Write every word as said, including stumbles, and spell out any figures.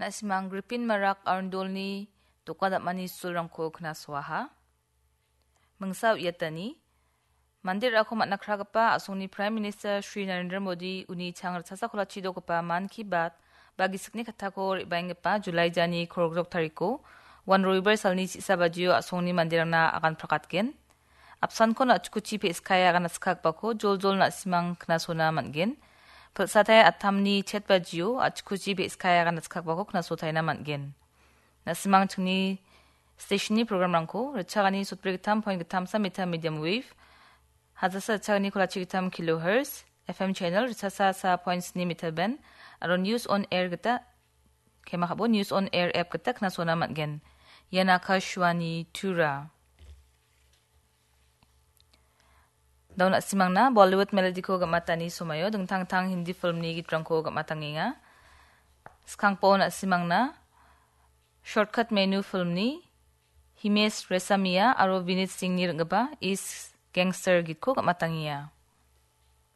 Na·simang Gripin Marak Arundolni doka dam·ani sulrangko knasoaha. Mingsa uiatani, mande ra·ako man·a kragipa a·songni Prime Minister Shri Narendra Modi uni chang ritchasa kolachi dogipa Mann Ki Baat ba gisikni kattako re·baenggipa July jani kolgrok tariko, wan Roibar salni chisa bajio a·songni manderangna agan prakatgen. Apsankon a·chikuchi pe·skae agan askakbako joljol na·simang knasona man·gen. Pilsatai atamni chet bajio a·chikuchi pe·skae agan askakbako knasotaina man·gen. Na·simang chingni stationni programrangko ritchagani sotbri gittam point gittamsa meter medium wave, hajasa ritchagani kolachi gittam kilohertz, F M channel ritchasa sa point sni meter band, aro News on Air gita, kema kabo News on Air app gita knasona man·gen. Ian Akashvani Tura. Dao na·simangna Bollywood melodiko gam·atani somaio dingtang dingtang Hindi filmni gitrangko gam·atangenga. Skangpo na·simangna Shortcut Menu filmni Himesh Reshammiya aro Vineet Singhni ring·gipa East Gangster gitko gam·atangenga.